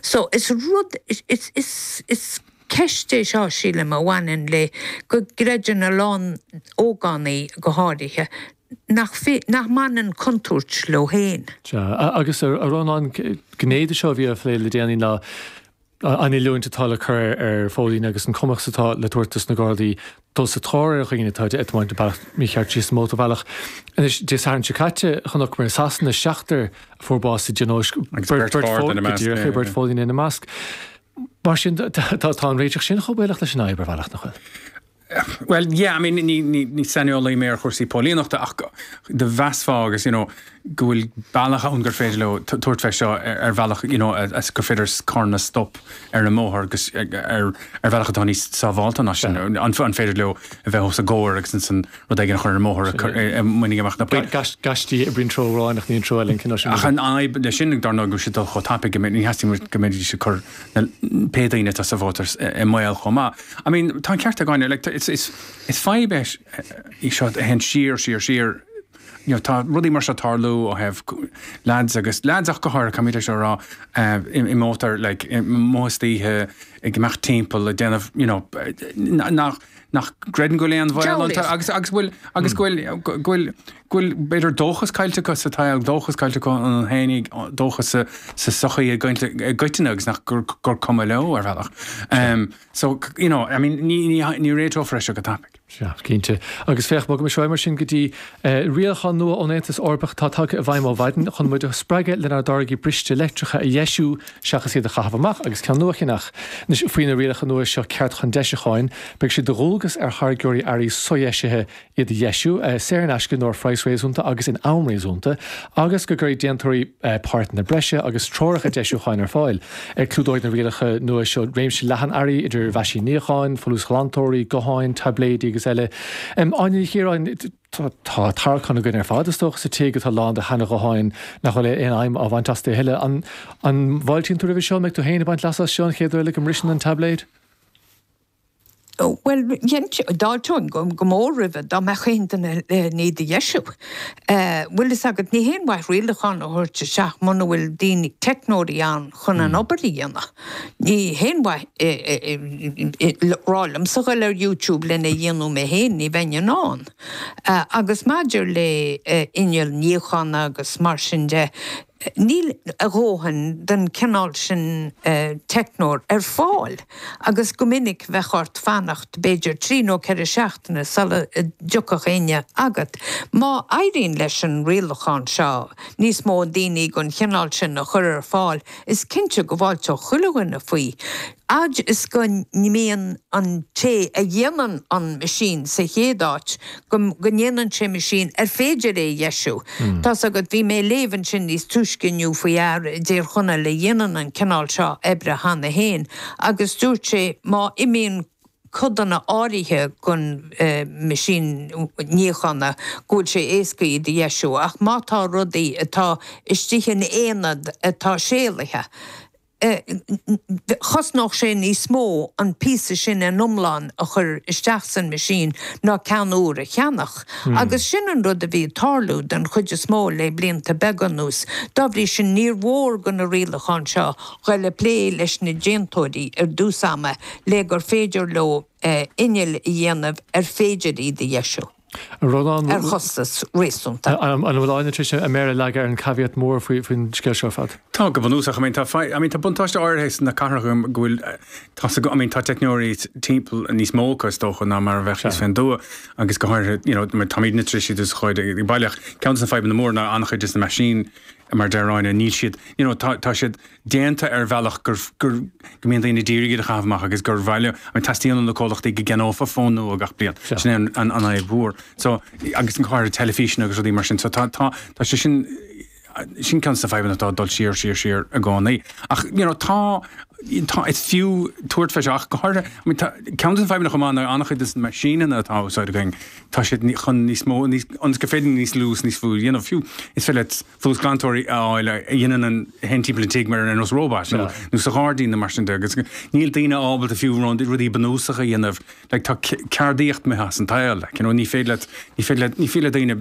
So, is rud, is, is, is ceist é seo, sílim, a bhaineann le go gcreideann a lán ógánaigh, go háirithe, nach, nach mbaineann contúirt leo féin. Sea, agus a Rónáin, gné de seo a bhí á phlé le déanaí ná an oiliúint atá le cur ar phóilíní agus an cumas atá le tabhairt dos na Gardaí dul sa tóir ar dhaoine atá ag tiomáint an bealach mícheart síos an mótarbhealach. Anois, Dé Sathairn seo caite, chonaiceamar i Sasana seachtar a fuair bás i dtionóisc, beirt phóilíní ina measc. Mar sin, tá an réiteach sin chomh baolach leis an fhadhb ar bhealach, nach bhfuil? Bhuel, yeah, I mean, ní, ní, ní saineolaí mé ar chúrsaí póilíneachta ach do mheasfá agus, you know, go bhfuil bealach ann gur féidir leo tabhairt fé seo ar bhealach, you know, gur féidir carranna a stop ar an mbóthar agus ar ar bhealach atá níos sábhálta ná sin. An an féidir leo a bheith os a gcomhair agus ansan rud éigin a chur ar an mbóthar a mbainfidh amach na poill. Gaistí a oibríonn treo amháin ach ní an treo eile an cineál sin. Ach an fhadhb leis sin, dar ndóigh, go bhfuil siad ag dul chomh tapaidh go mbeidh, ní theastaíonn go mbeidís ag cur na pé daoine atá sa mhótar i mbaol chomh maith. I mean, tá an ceart ag Áine, like, is, is, is fadhb é í seo a théann siar, siar, siar. You know, tá rudaí mar seo ag tarlú ó thaobh lads agus, lads ach go háirithe, caithfimid é seo a rá, eh, i, i mótar, like, i amuigh istoíche, ag imeacht timpeall, ag déanamh, you know, nach, nach gcreideann go bhfuil aon bhaol iontu agus, agus go bhfuil, agus go bhfuil, go bhfuil, go bhfuil, b'fhéidir, dóchas caillte acu sa tsaol, dóchas caillte acu iontu fhéinig, dóchas sa, sa sochaí i gcoitinne agus nach, gur, gur cuma leo ar bhealach. So, you know, I mean, ní, ní, ní réiteofar é seo go tapaidh. Sea, cinnte. Agus féach, bogaimis ar aghaidh mar sin go dtí rialachán nua ón Aontas Eorpach atá tagtha i bhfeidhm ó mhaidin chun muid a spreagadh lenár dtáirgí briste leictreacha a dheisiú seachas iad a chaitheamh amach agus ceann nua a cheannach. Anois, faoi na rialacha nua seo ceart chun deisiúcháin, beidh sé de dhualgas ar tháirgeoirí earraí sodheisithe iad a dheisiú, saor in aisce nó ar phraghas réasúnta agus in am réasúnta, agus go gcuirfidh déantóirí páirteanna breise agus treoracha deisiúcháin ar fáil. Clúdóidh na rialacha nua seo réimse leathan earraí, idir mheaisíní níocháin, folúsghlantóirí, gutháin, taibléidí agus eile. Áine Ní Chiaráin, tá tarraiceán againn ar fad, is dócha, sa tigh atá lán de sheana-ghutháin nach bhfuil aon fheidhm á bhaint astu a thuilleadh. An bhfáiltíonn tú roimhe seo? An mbeidh tú féin ag baint leasa as seo an chéad uair eile go mbriseann an taibléad? Bhuel, d'fháilteoinn go mór roimhe dá mbeadh aon duine len iad a dheisiú. Bhfuil fhios agat, ní haon mhaith rialachán a thabhairt isteach muna bhfuil daoine, teicneoirí ann chun an obair a dhéanamh. Ní haon mhaith rá liomsa dhul ar YouTube lena dhéanamh mé féin, ní bheinn in ann. Agus maidir le inneall níocháin agus mar sin de, Níl a dhóthain den chineál sin teicneoir ar fáil agus go minic bheadh ort fanacht b'fhéidir 3 nó 4 seachtaine sula dtiocfadh éinne agat. Má éiríonn leis an rialachán seo níos mó daoine den chineál sin a chur ar fáil is cinnte go bhfáilteodh chuile dhuine faoi. Fhad is go mbíonn an té a dhéanann an meaisín sa chéad áit, go ndéanann sé meaisín ar féidir é a dheisiú. Tá's agat, bhí mé ag léamh ansin níos túisce inniu faoi fhear i dTír Chonaill a dhéanann an cineál seo oibre cheana féin agus dúirt sé má imíonn codanna áirithe den meaisín níocháin go bhfuil sé éasca iad a dheisiú ach má tá rudaí atá istigh in aonad atá séalaithe, chosnódh sé níos mó an píosa sin in iomlán a chur isteach san meaisín ná ceann úr a cheannach. Agus sin an rud a bhí ag tarlú den chuid is mó le blianta beaga anuas. Dá bhrí sin níor mhór do na rialacháin seo dhul ag plé leis na déantóirí ar dtús ama le gur féidir leo innill a dhéanamh ar féidir iad a dheisiú. A Rónáin, ar chostas réasúnta. An bhfuil Áine tar éis a méar a leagadh ar an caveat mór faoin scéal seo ar fad? Tá, go bunúsach. I mean, tá, I mean, tá buntáiste áirithe sna cathracha go bhfuil, tá I mean, tá teicneoirí timpeall níos mó acu is dócha ná mar a bheadh thíos fén dtuath agus go háirithe, you know, táimidne tar éis iad a úsáid ag baile ach ceann de na fadhbanna móra ná an-chuid de na meaisín mar a deir Áine, níl siad, you know, tá, tá siad déanta ar bhealach gur, gur, go mbíonn daoine d'iarraidh iad a chaitheamh amach agus gur mhaith leo, I mean, teastaíonn ó na comhlachtaí go gceannófá fón nua gach bliain. Sin é an, an, an fhadhb mhór. So, agus go háirithe teilifíseanna agus rudaí mar sin. So tá, tá, tá sé sin, sin ceann de na fadhbanna atá ag dul siar, siar, siar i gcónaí. Ach, you know, tá. tá, is fiú tabhairt fé seo ach go háirithe, I mean, tá, ceann de na fadhbanna chomh maith ná an-chuid de na meaisíneanna atá á úsáid againn, tá siad chun níos mó, níos, ionas gur féidir níos lú is níos lú a dhéanamh. Fiú, is féidir leat folúsghlantóirí a fháil a dhéanann an, a théann timpeall an tigh mar ar nós róbat nó, nó sa ghairdín nó mar sin de agus níl daoine ábalta fiú rudaí bunúsacha a dhéanamh. Like, tá ceardaíocht imithe as an tsaol, like, you know, ní féidir leat, ní féidir leat, ní féidir le daoine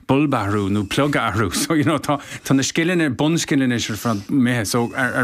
bulb a athrú nó plug a athrú. So, you know, tá, tá na scileanna, bunscileanna ar fad imithe. So, ar, ar.